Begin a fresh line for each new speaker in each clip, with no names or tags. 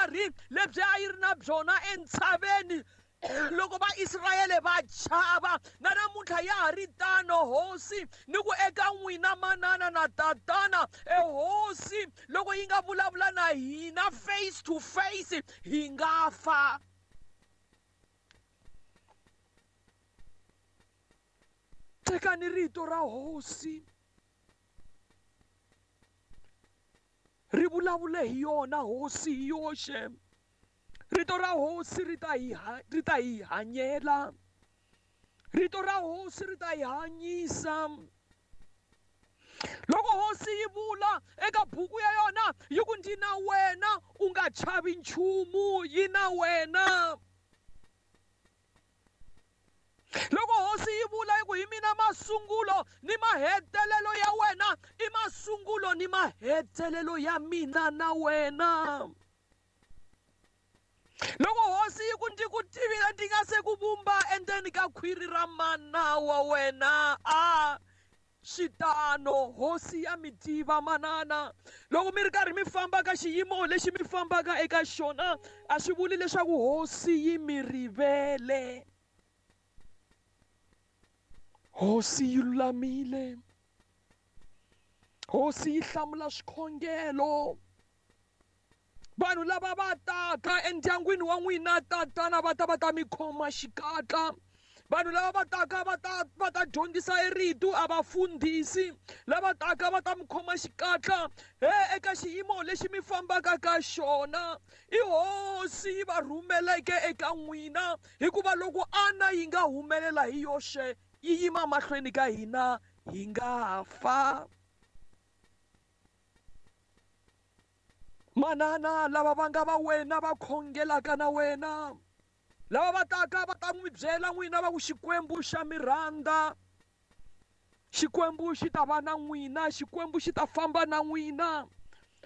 vutlhari lebyi a yi ri na byona entshaveni loko vaisrayele va chava na namuntlha ya ha ri tano hosi ni ku eka n'wina manana na tatana ehosi loko yi nga vulavula na hina face to face hi nga fa tekani rito ra hosi ri vulavule hi yona hosi hi yoxe rito ra hosi ri ta hi ri ta hi hanyela rito ra hosi ri ta hi hanyisa loko hosi yi vula eka buku ya yona yi ku ndzi na wena u nga chavi nchumu yi na wena loko hosi yi vula yi ku hi mina masungulo ni mahetelelo ya wena i masungulo ni mahetelelo ya mina na wena loko hosi yi ku ndzi ku tivile ndzi nga se ku vumba endzeni ka khwiri ra mana wa wena a swi tano hosi ya mi tiva manana loko mi ri karhi mi famba ka xiyimo lexi mi fambaka eka xona a swi vuli leswaku hosi yi mi rivele hosi yi lulamile hosi yi hlamula swikhongelo vanhu lava va taka endyangwini wa n'wina tatana va ta va ta mi khoma xikatla vanhu lava va taka va ta va ta dyondzisa erito a va fundhisi lava taka va ta mi khoma xikatla he eka xiyimo lexi mi fambaka ka xona i hosi yi va rhumeleke eka n'wina hikuva loko ana yi nga humelela hi yoxe yi yima mahlweni ka hina hi nga fa manana lava va nga va wena va khongelaka na wena lava va taka va ta n'wi byela n'wina va ku xikwembu xa mi rhandza xikwembu xi ta va na n'wina xikwembu xi ta famba na n'wina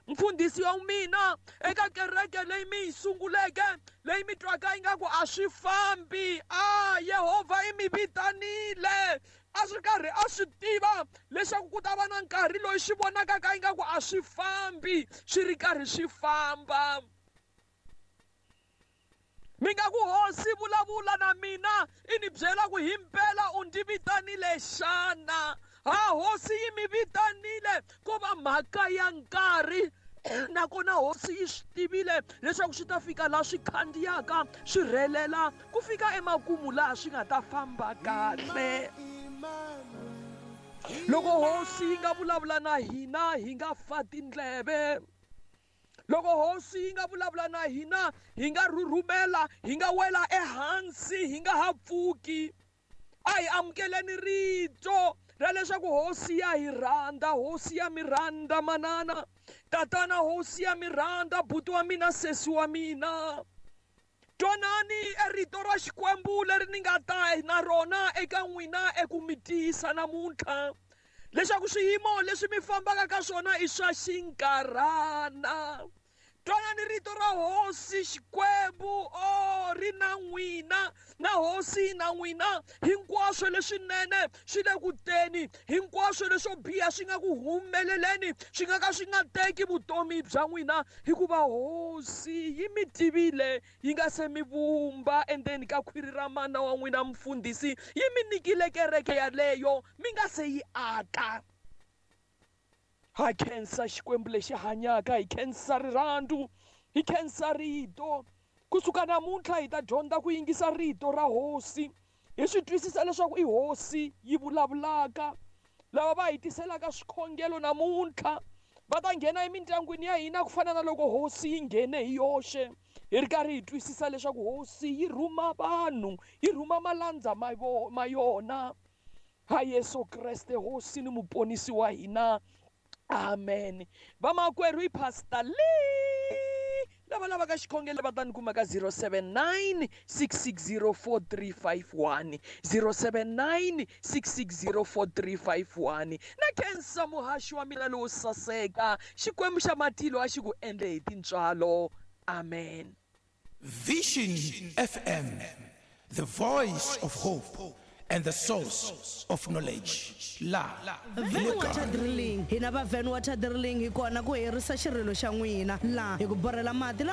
mfundhisi wa mina eka kereke leyi mi yi sunguleke leyi mi twaka ingaku a swi fambi a yehovha i mi vitanile a swi karhi a swi tiva leswaku ku ta va na nkarhi loyi swi vonakaka ingaku a swi fambi swi ri karhi swi famba mi nga ku hosi vulavula na mina i ni byela ku himpela u ndzi vitanile xana ha hosi yi mi vitanile ko va mhaka ya nkarhi nakona hosi yi swi tivile leswaku swi ta fika laha swi khandziyaka swi rhelela ku fika emakumu laha swi nga ta famba kahle loko hosi yi nga vulavula na hina hi nga fa tindleve loko hosi yi nga vulavula na hina hi nga rhurhumela hi nga wela ehansi hi nga ha pfuki a hi amukeleni rito ra leswaku hosi ya hi rhandza hosi ya mi rhandza manana tatana hosi ya mi rhandza buti wa mina sesi wa mina twanani erito ra xikwembu leri ni nga ta na rona eka n'wina eku mi tiyisa namuntlha leswaku swiyimo leswi mi fambaka ka swona i swa xinkarhana twanani rito ra hosi xikwembu o ri na n'wina na hosi na n'wina hinkwaswo leswinene swi le ku teni hinkwaswo leswo biha swi nga ku humeleleni swi nga ka swi nga teki vutomi bya n'wina hikuva hosi yi mi tivile yi nga se mi vumba endzeni ka khwiri ra mana wa n'wina mfundhisi yi mi nyikile kereke yaleyo mi nga se yi aka ha khensa xikwembu lexi hanyaka hi khensa rirhandzu hi khensa rito kusuka namuntlha hi ta dyondza ku yingisa rito ra hosi hi swi twisisa leswaku i hosi yi vulavulaka lava va hi tiselaka swikhongelo namuntlha va ta nghena emindyangwini ya hina ku fana na loko hosi yi nghene hi yoxe hi ri karhi hi twisisa leswaku hosi yi rhuma vanhu yi rhuma malandza ma yona ha Yesu Kreste hosi ni muponisi wa hina amen vamakwerhu i pastor lee lava lavaka xikhongelo va ta ni kuma ka 079 660 4351 079 660 4351 na khensa muhaxi wa mina lowo saseka xikwembu xa matilo a xi ku endle hi tintswalo amen
Vision FM, the voice of hope and the source of knowledge. La.
Van Water Drilling hina va Van Water Drilling hi kona ku herisa xirilo xa n'wina laha hi ku borhela mati.